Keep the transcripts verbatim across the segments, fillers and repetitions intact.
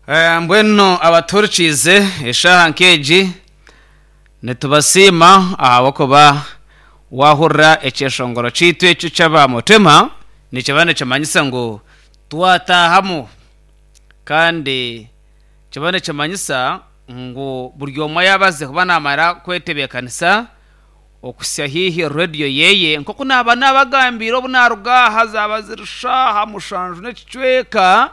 Eh, mbwenu abaturikiize eshaaha nk'egi nitubasiima ahabw'okuba wahurira ekyeshongoro kyaitu ekyo ky'abamutima nikiba nikimanyisa ngu twatahamu kandi kiba nikimanyisa ngu buri omwe yaabaze kuba naamara kwetebeekanisa okusya haihi rediyo yeye nk'oku naaba naabagambiire obu naaruga aha zaaba ziri shaaha mushanju n'ekicweka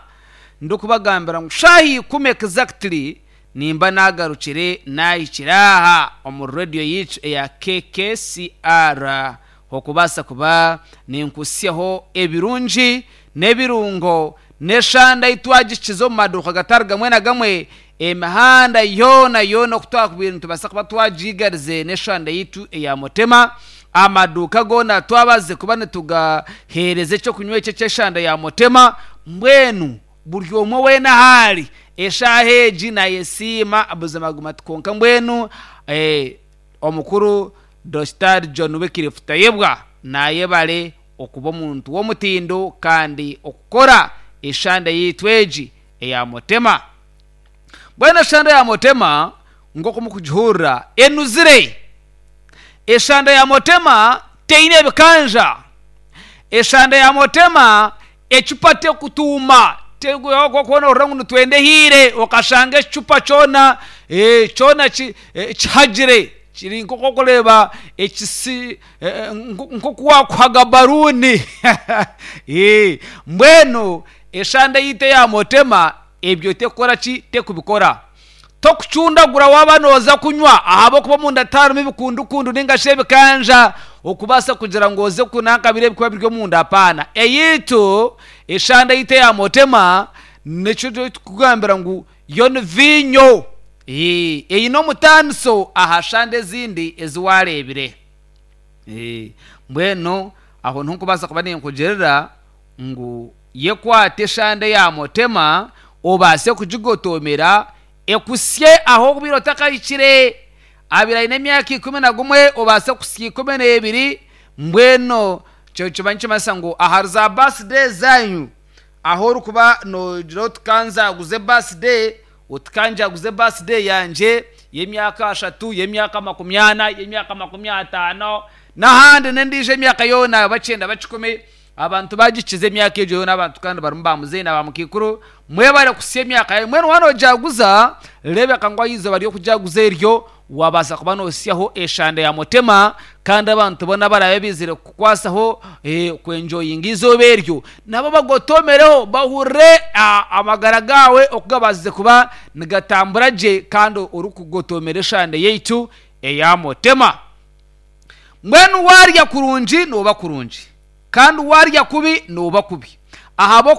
ndikubagambira ngu shaaha ikumi exactly nimba naagarukire naahikire aha omu rediyo yaitu eya K K C R okubaasa kuba ninkusyaho ebirungi n'ebirungo n'eshanda ei twagikiza omu maduuka gatari gamwe na gamwe, emihanda yoona yoona oku twakubaire nitubaasa kuba twagigarize n'eshanda yaitu eya Mutema. Amaduuka goona twabaze kuba nitugaheereza ekyokunywa eki eky'eshanda ya Mutema. Mbwenu buri omwe weena ahaari eshaaha egi nayesiima buzima guma konka mbwenu eh, omukuru Doctor John Wycliffe Tayebwa nayebare okuba omuntu w'omutindo kandi okukora eshanda yaitu egi eya Mutema. Mbwenu eshanda ya Mutema nk'oku mukugihurira enuzire. Eshanda ya Mutema teine ebikanja. Eshanda ya Mutema ecupa tekutuuma, okuba nohurira ngu nitwenda ehiire okashanga ekicupa kyona eh, kyona ki- eh, kihagire kiri nk'oku okureeba ekisi eh, nk'oku wakuhaga baruuni. Eh, mbwenu eshanda yaitu eya Mutema ebyo tekukora ki? Tekubikora. Tokucundagura waaba nooza kunywa ahabw'okuba omunda tiharimu ebikundukundu ninga shi ebikanja okubaasa kugira ngu oze kunanka biri ebikuba biri omunda. Apaana, eyaitu eshanda yaitu eya Mutema nikyo tukugambira ngu yo ni viinyo. Eh, eine omutaaniso aha shanda ezindi ezi waareebire. Eh, mbwenu aho niho nkubaasa kuba ninkugirira ngu yekwate eshanda eya Mutema obaase kugigotomera ekusye aho obuire otakahikire. Abire aine emyaka ikumi na gumwe obaase kusya ikumi n'ebiri. Mbwenu kyo kiba nikimanyisa ngu ahari za birthday zanyu aho orikuba noogira oti kanzaguze birthday, oti kanjaguze birthday yangye y'emyaka ashatu, y'emyaka makumi ana, y'emyaka makumi ataano n'ahandi n'endiijo emyaka yoona bakyenda bakikumi. Abantu bagikiza emyaka egyo yoona, abantu kandi barimu bamuzeeyi na bamukiikuru, mwebare kusya emyaka yanyu. Mbwenu waaba noojaguza reebeka ngu aha izooba ry'okujaguza eryo wabaasa kuba noosyaho eshanda ya Mutema kandi abantu boona abaraabe baizire kukukwasaho eh, kwenjoyinga izooba eryo nabo bagotomereho bahurire ah, amagara gaawe oku gabaasize kuba nigatambura gye kandi orikugotomera eshanda yaitu eya Mutema. Mbwenu waarya kurungi nooba kurungi kandi waarya kubi nooba kubi ahabw'okuba